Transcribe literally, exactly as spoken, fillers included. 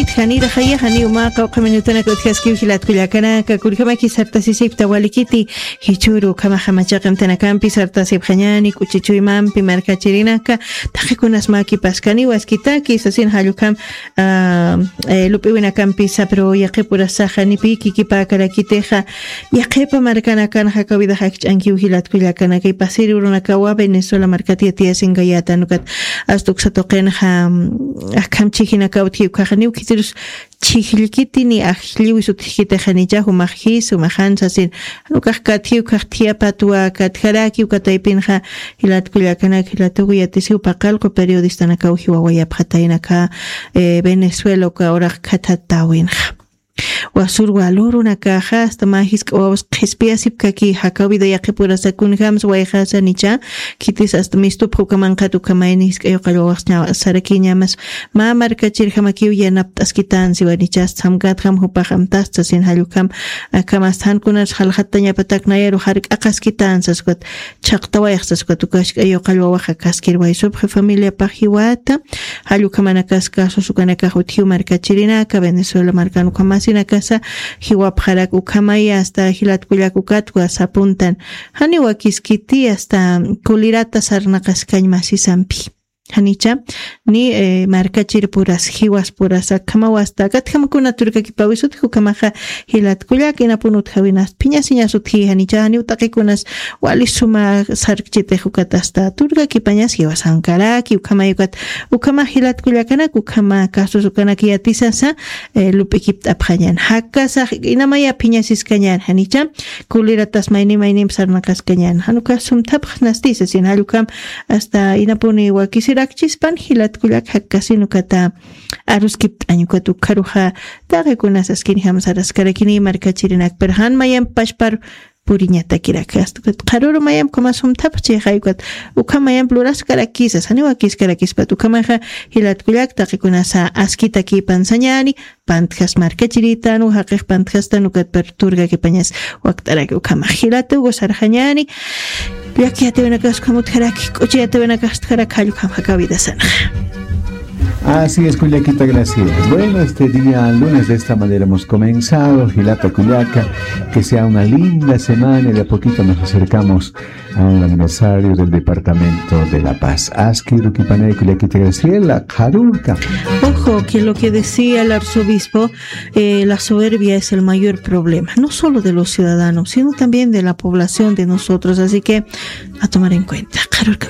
Itjanira jaya janiw mä qawqha minutanaka utjaskiw jilat kullakanaka, kullkamaki sartasisipta walikiti, jichhüru ukhamaxa machaqimtanakampi sartasipxañäni, k'uchichuymampi markachirinaka, taqikunas mä kipaskaniw askitaki, sasin jall ukham, ah, eh, lup'iwinakampisa, pero yaqhipurasaxa ni pï kikipäkarakitixa, yaqhipa markanakan jakawidax akch'ankiw jilat kullakanaka, pasir urunakawa Venezuela markat yatiyasinkayätan ukat, asta uksa tuqinxa, mm, akham chhijinakaw utji ukkhaxa, niw khitirus chhijllkiti ni ajlliwis utjkitixa, nicha jumax jis, jumax jan sasin, jan ukax katji ukkhax thiyapatwa katjaraki, uka taypinxa jilat kullakanaka, jilat uka yatisiw paqallqu periodistanakaw jiwawayapxatayna aka, eh, Venezuela uka uraq khathatäwinxa. Wasür walurunakaxa, asta mä jisk'a wawas qhispiyasipkaki, jakawida yaqhipurasa kunjämsa wayxasa nicha, khitis asta mistupxa uka manqhat uka mayni jisk'a yuqall wawax ña-, sarakiñämas, mä markachirjamakiw yanapt'askitänsiwa nicha, asta samkatjam jupax amtasta sasin jall ukham, akham asta jan kunas jaljatañapatak nayaru jark'aqaskitänsa sas ukat, chhaqtawayxsa sas ukat, uka jisk'a yuqall wawax akaskir waysupxi familiapax jiwata, jall ukhamanakas casos ukanakax utjiw markachirinaka, Venezuela markan ukhamasinakasa jiwapxarak ukhamaya, asta jilat kullak ukat WhatsApp-untan. Janiw wakiskiti asta kulirata sarnaqaskañ masisampi. Janicha, ni, eh, markachirpuras, jiwaspuras, akhamaw asta, katjam kuna turkakipäwis utji ukhamaxa jilat kullak, inapun utjäwinas, phiñasiñas utji, janicha, janiw taqikunas, wali suma sarkchitix ukat asta turkakipañas jiwasankaraki, ukhamay ukat, ukhama jilat kullakanak, ukhama casos ukanak yatisasa, eh, lup'ikipt'apxañän. Jakasax inamaya phiñasiskañän, janicha, kuliratas mayni maynimp sarnaqaskañän. Jan ukax sumthapxnasti sasin jall ukham, asta inapuni wakisirakchispan jilat kullak, jakasin ukata aruskipt'añ ukat, ukharuxa taqikunas askinjam saraskarakini markachirinak, pero jan mayamp pachpar puriñatakirak. Asta ukat qharüru mayamp ukhama sumthapxchi jay ukat, ukham mayamp luraskarakisas, janiw wakiskarakispat. Ukhamaxa jilat kullak, taqikunasa askitakïpan sañäni, pantjas markachiritan, jaqix pantjastan ukat, pero turkakipañas wakt'araki ukhamax. Jilata Hugo sarxañäni, llaki yatiwinakas ukham utjaraki, k'uchi yatiwinakas utjaraki, jall ukham jakawidasanxa. Así es, kullakita Graciela. Bueno, este día lunes de esta manera hemos comenzado. Jilata kullaka, que sea una linda semana y de a poquito nos acercamos al aniversario del departamento de La Paz. Aski rukipanay kullakita Graciela, qharürka. Ojo, que lo que decía el arzobispo, eh, la soberbia es el mayor problema, no solo de los ciudadanos, sino también de la población de nosotros. Así que a tomar en cuenta. Qharürka.